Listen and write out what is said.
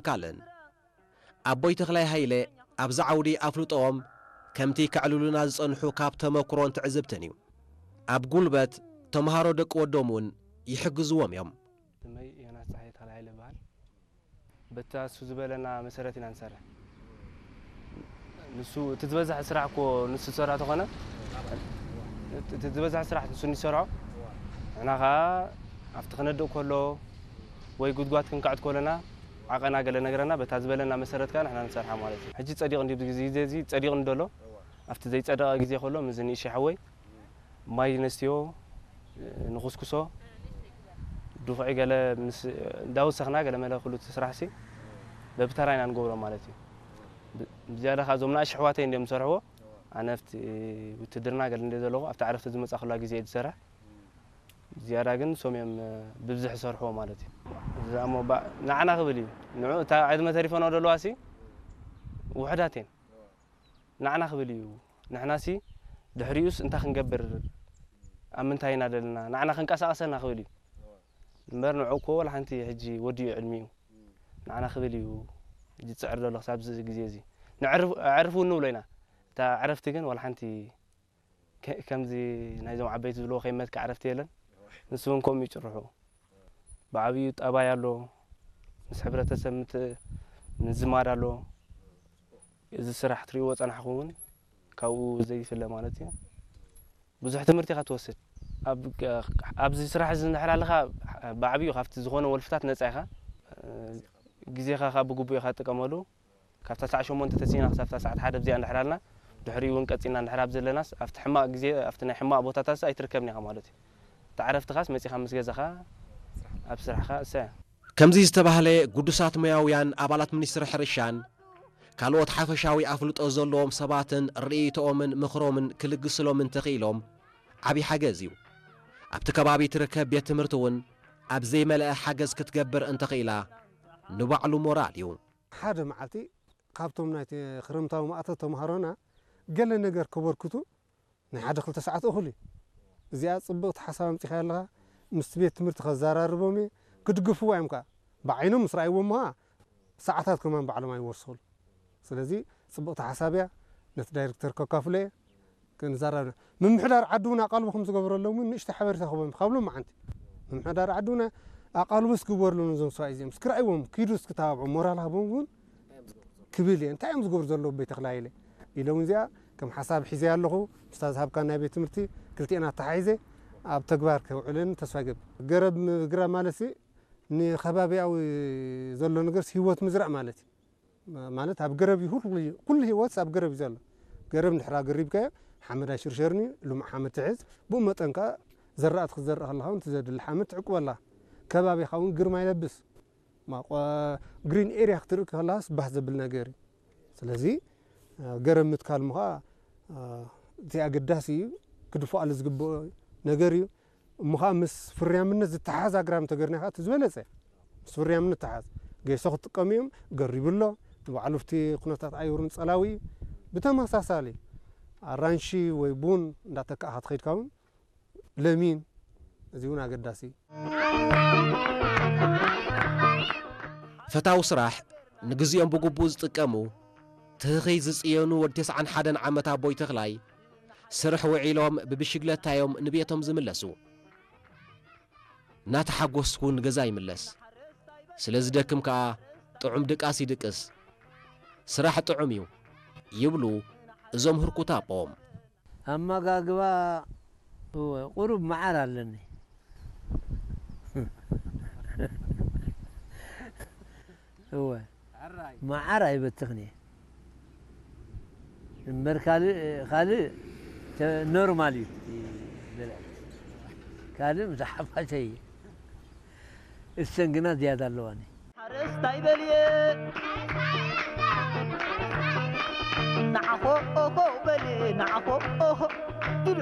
ትካልን ኣቦይ ተኽላይ ሃይለ ኣብዚ ዓውዲ ኣፍልጦኦም ከምቲ ከዕልሉና ዝጸንሑ ካብ ተመክሮን ትዕዝብትን እዩ። ኣብ ጉልበት ተምሃሮ ደቂ ወዶም እውን ይሕግዝዎም እዮም። ስመይ ዮናስ ጸሓየ ተኽላይ ሃይለ ይበሃል። በታ እሱ ዝበለና መሰረት ኢና ንሰርሕ። ንሱ እቲ ዝበዝሕ ስራሕ እኮ ንሱ ዝሰርሖ ተኾነ፣ እቲ ዝበዝሕ ስራሕ ንሱ ንሰርሖ፣ ንሕና ኸዓ ኣብቲ ክነድእ ከሎ ወይ ጉድጓድ ክንከዕት ከሎና ዓቐና ገለ ነገረና፣ በታ ዝበለና መሰረት ከኣ ንሕና ንሰርሓ ማለት እዩ። ሕጂ ጸዲቑ እንዲ፣ ብግዜ እዚ ጸዲቑ እንዶ ኣሎ፣ ኣብቲ ዘይጸደቐ ግዜ ከሎ፣ ምስዚ ንእሽተይ ሓወይ ማይ ነስትዮ፣ ንኹስኩሶ፣ ድኹዒ ገለ ምስ እንዳወሰኽና ገለ መለ ኩሉ እቲ ስራሕሲ በብተራ ኢና ንገብሮ ማለት እዩ። ብ-፣ ብዝያዳ ከኣ እዞም ንኣሽቱ ኣሕዋተይ እንድዮም ዝሰርሕዎ። ኣነ ኣብቲ ውትድርና ገለ እንደ ዘለኹ ኣብቲ ዕረፍቲ ዝመጻኹላ ግዜ እየ ዝሰርሕ። ዝያዳ ግን ንሶም እዮም ብብዝሒ ዝሰርሕዎ ማለት እዩ። እዚ ደኣ እሞ ባ-፣ ንዓና ክብል እዩ። ንዑ እታ ዕድመ ተሪፈንኦ ዘለዋሲ ውሑዳት እየን። ንዓና ክብል እዩ። ንሕናሲ ድሕሪኡስ እንታይ ክንገብር፣ ኣብ ምንታይ ኢና ዘለና፣ ንዓና ክንቀሳቐሰና ክብል እዩ። እምበር ንዑ እኮ ወላ ሓንቲ ሕጂ ወዲኡ ዕድሚኡ። ንዓና ክብል እዩ ሕጂ ዝጽዕር ዘሎ ክሳብ እዚ ግዜ እዚ። ነዕርፍ-፣ ኣዕርፉ ንብሎ ኢና። እታ ዕረፍቲ ግን ወላ ሓንቲ ከ-፣ ከምዚ ናይዞም ዓበይቲ ዝብልዎ ከይመትካ ዕረፍቲ የለን። ንሱ እውን ከምኡ እዩ ጭርሑ። ብዓብዩ ጠባይ ኣሎ፣ ምስ ሕብረተሰብ ምት-፣ ምዝማድ ኣሎ። እዚ ስራሕ ትርእይዎ ጸናሕኩም እውን ካብኡ ዘይፍለ ማለት እዩ። ብዙሕ ትምህርቲ ኢኻ ትወስድ። ኣብ፣ ኣብዚ ስራሕ እዚ እንድሕር ኣለኻ ብዓብዩ ካብቲ ዝኾነ ወልፍታት ነጻ ኢኻ። ግዜኻ ካብ ብግቡእ ኢኻ ትጥቀመሉ። ካብታ ሰዓት ሸሞንተ ተሲእና ክሳብ ሰዓት ሓደ ኣብዚኣ እንድሕር ኣልና፣ ድሕሪኡ እውን ቀጺልና እንድሕር ኣብ ዘለናስ፣ ኣብቲ ሕማቕ ግዜ፣ ኣብቲ ናይ ሕማቕ ቦታታትስ ኣይትርከብን ኢኻ ማለት እዩ። እቲ ዕረፍትኻስ መጺኻ ምስ ገዛኻ ኣብ ስራሕኻ እሰ። ከምዚ ዝተባህለ ግዱሳት ሞያውያን ኣባላት ሚኒስትሪ ሕርሻን ካልኦት ሓፈሻዊ ኣፍልጦ ዘለዎም ሰባትን ርእይቶኦምን ምኽሮምን ክልግስሎም እንተኽኢሎም ዓብዪ ሓገዝ እዩ። ኣብቲ ከባቢ ትርከብ ቤት ትምህርቲ እውን ኣብ ዘይመልአ ሓገዝ ክትገብር እንተኽኢላ ንባዕሉ ሞራል እዩ። ሓደ መዓልቲ ካብቶም ናይ ክረምታዊ ማእቶት ተምሃሮና ገለ ነገር ከበርክቱ ናይ ሓደ ክልተ ሰዓት እኹል እዩ። እዚኣ ጽብቕቲ ሓሳብ ኣምጺኻያ ኣለኻ። ምስቲ ቤት ትምህርቲ ከዘራርቦም እየ። ክድግፍዋ እዮም ከኣ። ብዓይኖም ምስ ረኣይዎም ከኣ ሰዓታት ከማን ባዕሎም ኣይወስኹሉ። ስለዚ ጽብቕቲ ሓሳብ እያ። ነቲ ዳይሬክተር ከካፍሎ እየ። ክንዛረብ ኢና። ምምሕዳር ዓዲ እውን ኣቓልቦ ከም ዝገበረሎም እውን ንእሽቶ ሓበሬታ ክህቦም ካብ ሎማዓንቲ። ምምሕዳር ዓዲ እውን ኣቓልቦ እስኪ ግበርሎም ነዞም ሰብኣይ እዚኦም። እስኪ ረኣይዎም፣ ኪዱ እስኪ ተባብዑ፣ ሞራል ሃቦም እውን ክብል እየ። እንታይ እዮም ዝገብሩ ዘለዉ ኣቦይ ተኽለ ሃይለ? ኢሎም እዚኣ ከም ሓሳብ ሒዘያ ኣለኹ። ምስታ ዝሃብካ ናይ ቤት ትምህርቲ ክልቲኤን ኣተሓሒዘ ኣብ ተግባር ከውዕለን ተስፋ ይገብር። ገረብ ምግራብ ማለትሲ ንኸባቢያዊ ዘሎ ነገርስ ህይወት ምዝራእ ማለት እዩ። ማ-፣ ማለት ኣብ ገረብ እዩ፣ ኩሉ፣ ኩሉ ህይወትስ ኣብ ገረብ እዩ ዘሎ። ገረብ እንድሕር ኣገሪብካዮ ሓመድ ኣይሽርሸርን እዩ፣ ልሙዕ ሓመድ ትሕዝ። ብኡ መጠን ከኣ ዘራእቲ ክትዘርእ ከለኻ እውን እቲ ዘድሊ ሓመድ ትዕቁበላ። ከባቢኻ እውን ግርማ ይለብስ። ማ-፣ ቆ-፣ ግሪን ኤርያ ክትርኢ ከለኻስ ባህ ዘብል ነገር እዩ። ስለዚ፣ አ፣ ገረብ ምትካል እሞ ኸኣ፣ አ፣ እቲ ኣገዳሲ እዩ፣ ክድፈኣሉ ዝግብኦ ነገር እዩ። እሞ ኸኣ ምስ ፍርያምነት ዝተሓሓዝ ኣግራብ እንተገርና ኸኣ እቲ ዝበለጸ። ምስ ፍርያምነት ተሓዝ። ጌሶ ክጥቀም እዮም፣ ገሪቡ ኣሎ። ንባዕሉ ኣብቲ ኩነታት ኣየሩን ጸላዊ እዩ። ብተመሳሳሊ ኣራንሺ ወይ ቡን እንዳተካእኻ ትኸይድካ እውን ለሚን፣ እዚ እውን ኣገዳሲ እዩ። ፈታዊ ስራሕ፣ ንግዜኦም ብግቡእ ዝጥቀሙ፣ ትህኺ ዝጽየኑ ወዲ ተስዓን ሓደን ዓመት ኣቦይ ተኽላይ፣ ስርሕ ውዒሎም ብብሽግለታ እዮም ንቤቶም ዝምለሱ። እናተሓጎስኩ ንገዛ ይምለስ። ስለ ዝደክም ከኣ ጥዑም ድቃስ ይድቅስ። ስራሕ ጥዑም እዩ ይብሉ እዞም ህርኩት ኣቦ። ኣመጋግባ፣ እወ፣ ቁሩብ መዓር ኣለኒ። እወ፣ መዓር ኣይበትኽን እየ። እምበር ካልእ፣ ካልእ ተ-፣ ኖርማል እዩ። ካልእ ምስ ሓፋሸይ እየ። እሰን ግና ዝያዳ ኣለዋኒ። ሓረስታይ በልየ ንዓኾ ኦሆ በልየ ንዓኾ ኦሆ ኢሉ